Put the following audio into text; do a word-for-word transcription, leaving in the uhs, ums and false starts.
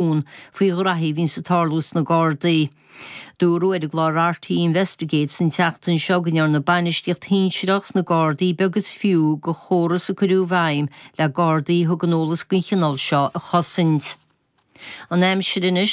Faoi ghraithí a bhíonns ag tarlú sna Gardaí. Dúradh ar an gclár RTÉ Investigates an tseachtain seo go ndearna bainistíocht shinsearach sna Gardaí beag is fiú de chóras a cuireadh i bhfeidhm le Gardaí a thugann eolas den chineál seo a chosaint. An aimsir anois